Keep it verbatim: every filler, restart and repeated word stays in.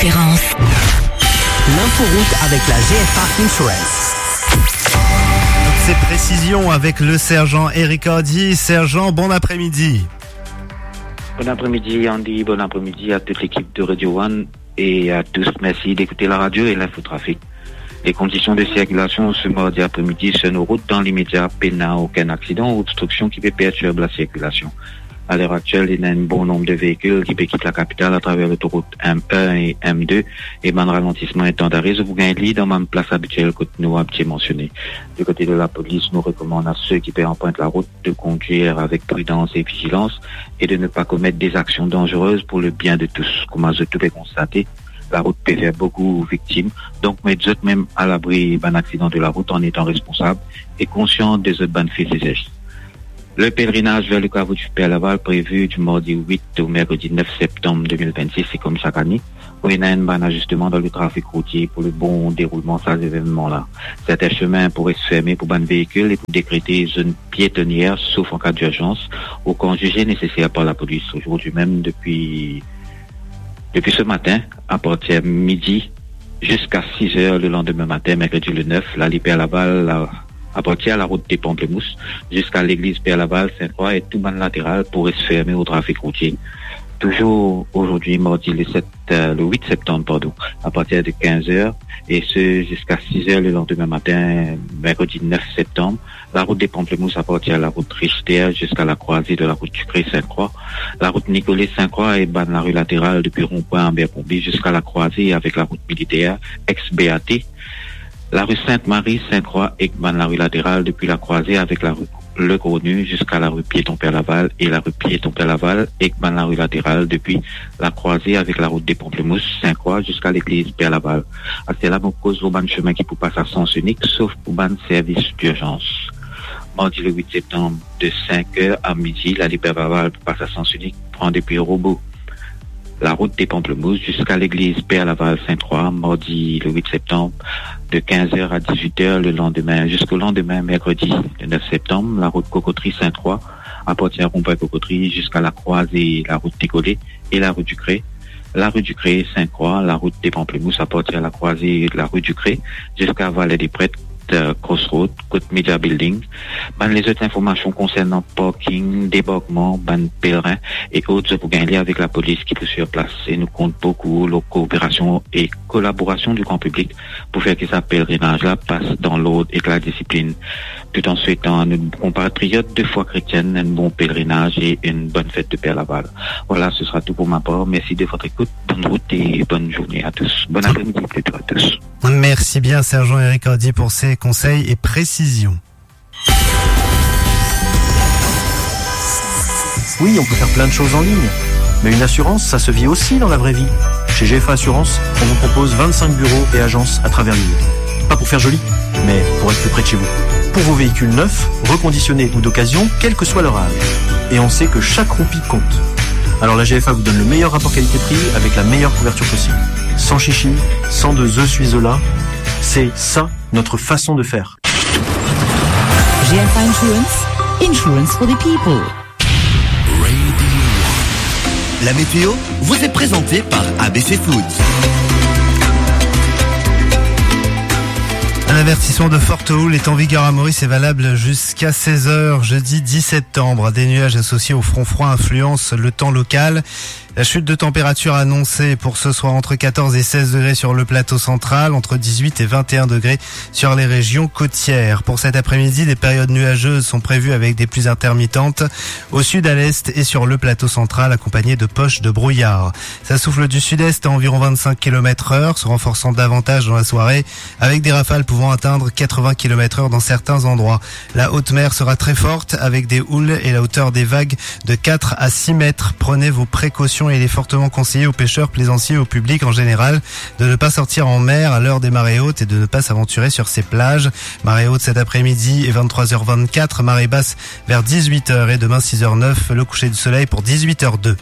Espérance. L'inforoute avec la G F A Insurance. Toutes ces précisions avec le sergent Eric Hardy. Sergent, bon après-midi. Bon après-midi, Andy. Bon après-midi à toute l'équipe de Radio One et à tous. Merci d'écouter la radio et l'infotrafic. Les conditions de circulation ce mardi après-midi sur nos routes, dans l'immédiat, pena okenn aksidan ou obstriksion ki pe pertirb la sirkilasion. A ler aktiel, ena enn bon nonb de veikil ki pe kit lakapital atraver lotorout M un e M deux, e bann ralantisman e tan dare, zot pou gagn li dan bann plas abitiel kot nou abitie mansione. Du côté de la police, nous recommandons à ceux qui arpentent la route de conduire avec prudence et vigilance et de ne pas commettre des actions dangereuses pour le bien de tous. Kouma zot tou pe konstate, larout pe fer boukou viktim, donk met zot mem alabri bann aksidan de larout an etan responsab e konsian de zot bann fe e zes. Le pèlerinaj ver le kavo di Père Laval prévu du mardi huit au mercredi neuf septembre deux mille vingt-six, e kouma sak ane, pou ena enn bann azisteman dan le trafik routie pou le bon deroulman sa zevenman la. Serten semin pou res ferme pou bann veikil e pou dekrete zone piétonnière, sauf en cas d'urgence, ou kan zize neseser par lapolis. Zordi mem, depi, depi se matin, apartir midi ziska siz er le landime matin, merkredi le nef, lali Père Laval, la, apartir larout de Pamplemousse ziska legliz Père Laval, Sainte-Croix e tou bann lateral pou res ferme o trafik routie. Touzour zordi, mardi le set, euh, le huit septembre, pardon, à partir de quinze heures, et ce, jusqu'à six heures le lendemain matin, mercredi neuf septembre, la route des Pamplemousses à partir de la route Richter jusqu'à la croisée de la route Ducré Sainte-Croix, la route Nicolet Sainte-Croix et bann larue latérale depuis rond-point Abercrombie jusqu'à la croisée avec la route militaire, ex-B A T, larue Sainte-Marie Sainte-Croix ek bann larue latérale depuis la croisée avec la rue Le Gros Nu jusqu'à la rue Piéton Père Laval et la rue Piéton Père Laval ek bann larue latérale depuis la croisée avec la route des Pamplemousses, Sainte-Croix jusqu'à l'église Père Laval. Aktielman, mo koz lor bann semin ki pou pas a sans inik, sof pou bann servis dirzans. Mardi le huit septembre, de cinq heures à midi, lali Père Laval pou pas a sans inik, pran depi Robo, la route des Pamplemousses jusqu'à l'église Père Laval Sainte-Croix, mardi le huit septembre, de quinze heures à dix-huit heures le lendemain, jusqu'au lendemain, mercredi le neuf septembre, la route Cocoterie Sainte-Croix, à partir rond-point Cocoterie jusqu'à la croisée la route Nicolet et la rue Ducré, la rue Ducré Sainte-Croix, la route des Pamplemousses à partir de la croisée de la rue Ducré jusqu'à Vallée des Prêtres, euh, Crossroad, kot Media Building. Bann lezot informasion konsernan parking, debarkman, bann pelerin e ot, zot pou gagn li avek lapolis ki pou sir plas. E nou kont boukou lor kooperasion e kolaborasion di gran piblik pou fer ki sa pelerinaz la pas dan lord ek ladisiplin, tout an swetan nou konpatriot de fwa kretienn enn bon pelerinaz e enn bonn fet de Père Laval. Voilà, ce sera tout pour ma part. Merci de votre écoute. Bonne route et bonne journée à tous. Bon après-midi plutôt à tous. Merci bien, sergent Eric Hardy, pour ces conseils et précisions. Oui, on peut faire plein de choses en ligne, mais une assurance, ça se vit aussi dans la vraie vie. Chez G F A Assurance, on vous propose vingt-cinq bureaux et agences à travers l'île. Pas pour faire joli, mais pour être plus près de chez vous. Pour vos véhicules neufs, reconditionnés ou d'occasion, quel que soit leur âge. Et on sait que chaque roupie compte. Alors la G F A vous donne le meilleur rapport qualité-prix avec la meilleure couverture possible. Sans chichi, sans de je suis là, c'est ça notre façon de faire. G F A Insurance, insurance for the people. Radio One. La météo vous est présentée par A B C Foods. Un avertissement de forte houle est en vigueur à Maurice et valable jusqu'à seize heures, jeudi dix septembre. Des nuages associés au front froid influencent le temps local. La chute de température annoncée pour ce soir entre quatorze et seize degrés sur le plateau central, entre dix-huit et vingt et un degrés sur les régions côtières. Pour cet après-midi, des périodes nuageuses sont prévues avec des pluies intermittentes au sud, à l'est et sur le plateau central, accompagnées de poches de brouillard. Ça souffle du sud-est à environ vingt-cinq kilomètres heure, se renforçant davantage dans la soirée, avec des rafales pouvant atteindre quatre-vingts kilomètres heure dans certains endroits. La haute mer sera très forte, avec des houles et la hauteur des vagues de quatre à six mètres. Prenez vos précautions et il est fortement conseillé aux pêcheurs, plaisanciers et au public en général de ne pas sortir en mer à l'heure des marées hautes et de ne pas s'aventurer sur ces plages. Marée haute cet après-midi et vingt-trois heures vingt-quatre, marée basse vers dix-huit heures et demain six heures neuf, le coucher du soleil pour dix-huit heures deux.